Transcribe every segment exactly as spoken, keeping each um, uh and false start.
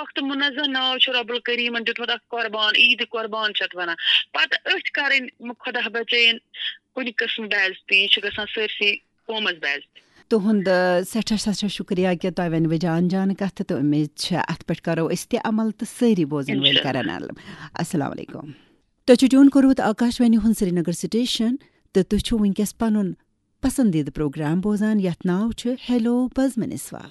وقت منزہ ناو چھُ رب الکریمن دیُتمُت اکھ قربان، عید قربان چھِ اتھ ونان۔ پتہٕ أتھۍ کرٕنۍ خدا بچٲیِن کُنہِ قٕسمہٕ بے عزتی، یہِ چھُ گژھان سٲرسٕے قومس بے عزتی۔ تُہُنٛد، آ، سٮ۪ٹھاہ، سٮ۪ٹھاہ شُکریہ کہِ تۄہہِ ؤنوٕ جان جان کَتھٕ، تہٕ اُمید چھِ اَتھ پٮ۪ٹھ کَرو أسۍ تہِ عمل تہٕ سٲری بوزَن وٲلۍ اِنشاءاللہ۔ کَرَن عمل۔ السلام علیکُم۔ تۄہہِ چھُ ٹیوٗن کوٚرمُت آکاش وانی ہُنٛد سرینگر سٹیشن، تہٕ تُہۍ چھِو وٕنکیٚس پَنُن پسندیدٕ پروگرام بوزان، یَتھ ناو چھُ ہیلو بزمِ نسواں۔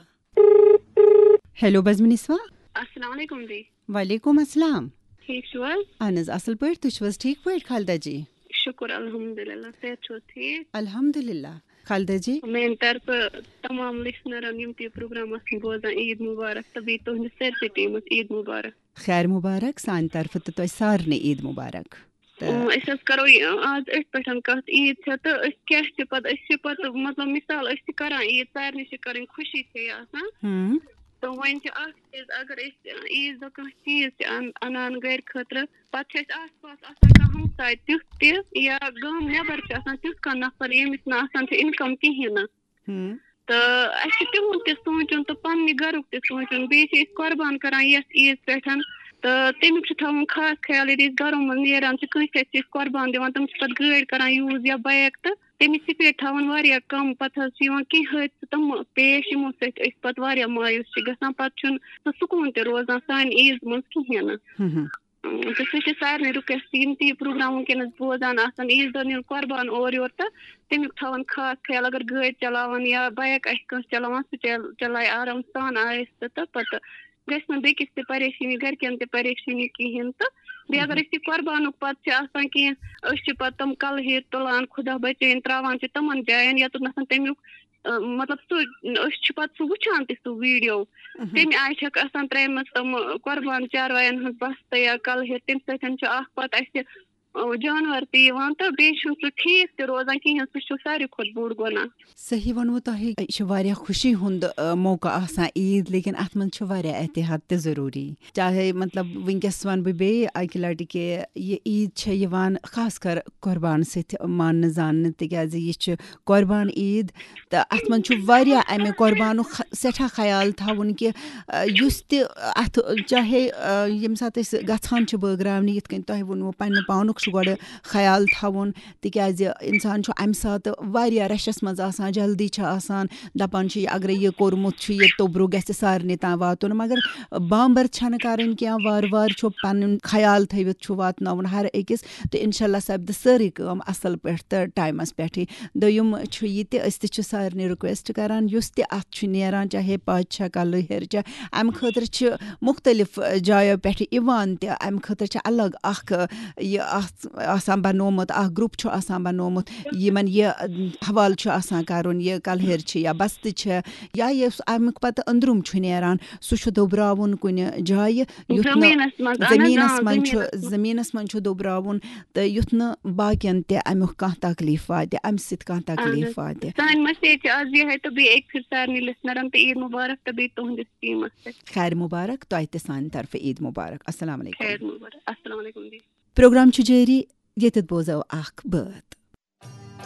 ہیلو بزمِ نسواں۔ السلام علیکم دی۔ وعلیکم السلام۔ ٹھیٖک چھِو حظ؟ اہن حظ، اصل پٲٹھۍ۔ تُہۍ چھِو حظ ٹھیٖک پٲٹھۍ، خالدہ جی؟ شُکُر الحمدللہ، صحت چھُو حظ ٹھیٖک؟ الحمدللہ۔ خالدہ جی؟ میٛانہِ طرفہٕ تمام لسنرن یِم تہِ یہِ پروگرام آسن بوزان، عید مبارک، تہٕ بیٚیہِ تُہنٛدِس سٲرسٕے ٹیمس عید مبارک۔ خیر مبارک، سانہِ طرفہٕ تہٕ تۄہہِ سارنٕے عید مبارک۔ تہٕ اۭں، أسۍ حظ کرو یہِ آز أتھۍ پٮ۪ٹھ کتھ، عید چھےٚ تہٕ أسۍ کیٛاہ چھِ پتہٕ، أسۍ چھِ پتہٕ مطلب مثال أسۍ چھِ کران عید، سارنٕے چھِ کرٕنۍ خوشی چھے آسان۔ ہُم۔ تہٕ وۄنۍ چھِ اکھ چیٖز، اگر أسۍ عیٖذ دۄہ کانٛہہ چیٖز چھِ اَن-، اَنان گَرِ خٲطرٕ، پَتہٕ چھِ اَسہِ آس پاس آسان کانٛہہ ہمساے تیُتھ تہِ یا گام نٮ۪بر چھِ آسان تیُتھ کانٛہہ نفر، ییٚمِس نہٕ آسان چھِ income کِہیٖنۍ نہٕ۔ ہُم۔ تہٕ اَسہِ چھُ تِہُنٛد تہِ سونٛچُن تہٕ پنٛنہِ گَرُک تہِ سونٛچُن۔ بیٚیہِ چھِ أسۍ قۄربان کَران یَتھ عیٖذ پٮ۪ٹھ، تہٕ تَمیُک چھُ تھاوُن خاص خیال، ییٚلہِ أسۍ گَرو منٛز نیران چھِ، کٲنٛسہِ اَتھِ چھِ أسۍ قۄربان دِوان، تِم چھِ پَتہٕ گٲڑۍ کَران use یا bike، تہٕ تَمِچ speed تھاوان واریاہ کَم۔ پَتہٕ حظ چھِ یِوان کینٛہہ حٲدثہٕ تِم پیش، یِمو سۭتۍ أسۍ پَتہٕ واریاہ مایوٗس چھِ گژھان۔ پَتہٕ چھُنہٕ سُہ سکوٗن تہِ روزان سانہِ عیٖذ منٛز کِہیٖنۍ نہٕ۔ ہُم ہُم۔ تہٕ سُہ چھِ سارنٕے request، یِم تہِ یہِ پروگرام وٕنکیٚنَس بوزان آسَن، عیٖذ دۄہ نیُن قۄربان اورٕ یورٕ، تہٕ تَمیُک تھاوَن خاص خیال۔ اگر گٲڑۍ چلاوَن یا bike آسہِ کٲنٛسہِ چلاوان، سُہ چل-، چلایہِ آرام سان آہِستہٕ، تہٕ پَتہٕ گژھِ نہٕ بیٚکِس تہِ پریشٲنی، گَرِکٮ۪ن تہِ پریشٲنی کِہیٖنۍ۔ تہٕ بیٚیہِ اگر أسۍ یہِ قۄربانُک پَتہٕ چھِ آسان کینٛہہ، أسۍ چھِ پَتہٕ تِم کَلہٕ ہیٚرۍ تُلان، خۄدا بَچٲیِن، ترٛاوان چھِ تِمَن جایَن، یَتَتھ نَسَن تَمیُک، اَ، مطلب، سُہ، أسۍ چھِ پَتہٕ سُہ وٕچھان تہِ، سُہ video۔ مہم۔ تَمہِ آیہِ چھَکھ آسان ترٛٲیمٕژ تِم قۄربان چاروایَن ہٕنٛز بَستہٕ یا کَلہٕ ہیٚرۍ، تَمہِ سۭتۍ چھُ اَکھ پَتہٕ اَسہِ، اَ، جانوَر تہِ یِوان تہٕ بیٚیہِ چھُنہٕ سُہ ٹھیٖک تہِ روزان کِہیٖنۍ، سُہ چھُ ساروی کھۄتہٕ بوٚڑ گۄناہ۔ صحیح ووٚنوٕ تۄہہِ، یہِ چھِ واریاہ خوشی ہُنٛد، آ، موقعہٕ آسان عیٖد، لیکن اَتھ منٛز چھِ واریاہ احتیاط تہِ ضروٗری۔ چاہے، مطلب، وٕنکیٚس وَنہٕ بہٕ بیٚیہِ اَکہِ لَٹہِ کہِ یہِ عیٖد چھےٚ یِوان خاص کر قۄربان سۭتۍ ماننہٕ زاننہٕ، تِکیٛازِ یہِ چھِ قۄربان عیٖد، تہٕ اَتھ منٛز چھُ واریاہ اَمہِ قۄربانُک خ-، سٮ۪ٹھاہ خیال تھاوُن کہِ، آ، یُس تہِ اَتھ، چاہے، آ، ییٚمہِ ساتہٕ أسۍ گژھان چھِ بٲگراونہِ، یِتھ کٔنۍ تۄہہِ ووٚنوٕ، پنٛنہِ پانُک چھُ گۄڈٕ خیال تھاوُن، تِکیٛازِ اِنسان چھُ اَمہِ ساتہٕ واریاہ رَشَس منٛز آسان، جلدی چھِ آسان، دَپان چھِ، یہِ اگرَے یہِ کوٚرمُت چھُ، یہِ توٚبرُک گژھِ سارنٕے تام واتُن۔ مگر بامبر چھَنہٕ کَرٕنۍ کینٛہہ، وارٕ وارٕ چھُ پَنُن خیال تھٲوِتھ چھُ واتناوُن ہر أکِس، تہٕ اِنشاء اللہ سَپدِ سٲرٕے کٲم اَصٕل پٲٹھۍ تہٕ ٹایمَس پٮ۪ٹھٕے۔ دوٚیُم چھُ یہِ تہِ، أسۍ تہِ چھِ سارنٕے request کَران، یُس تہِ اَتھ چھُ نیران، چاہے پَچ چھا، کَلہٕ ہیٚر چھا، اَمہِ خٲطرٕ چھِ مُختٔلِف جایو پٮ۪ٹھٕ یِوان تہِ، اَمہِ خٲطرٕ چھِ الگ اَکھ یہِ اَتھ آسان بنومُت، اَکھ group چھُ آسان بنومُت، یِمن یہِ حوالہٕ چھُ آسان کَرُن، یہِ کَلہٕ ہیٚر چھِ یا بستہٕ چھِ، یا یُس اَمیُک پَتہٕ أنٛدرُم چھُ نیران، سُہ چھُ دۄبراوُن کُنہِ جایہِ، یُتھ نہٕ زٔمیٖنَس منٛز، اَہَن حظ، زٔمیٖنَس آ، منٛز چھُ، زٔمیٖنَس منٛز۔ زٔمیٖنَس منٛز چھُ دۄبراوُن، تہٕ یُتھ نہٕ باقین تہِ اَمیُک کانٛہہ تکلیٖف واتہِ، اَمہِ سۭتۍ کانٛہہ اَہَن تکلیٖف حظ۔ واتہِ۔ سانہِ message چھِ آز یِہے تہٕ بیٚیہِ أکۍ پھِرِ سارنٕے listenerن تہٕ عیٖد مُبارک تہٕ بیٚیہِ تُہٕنٛدِس teamس تہِ۔ خیر مُبارک، تۄہہِ تہِ سانہِ طرفہٕ عیٖد مُبارک۔ السلام علیکم۔ خیر مُبارک۔ السلام علیکم دی۔ پروگرام چھُ جٲری، ییٚتٮ۪تھ بوزو اکھ بٲتھ۔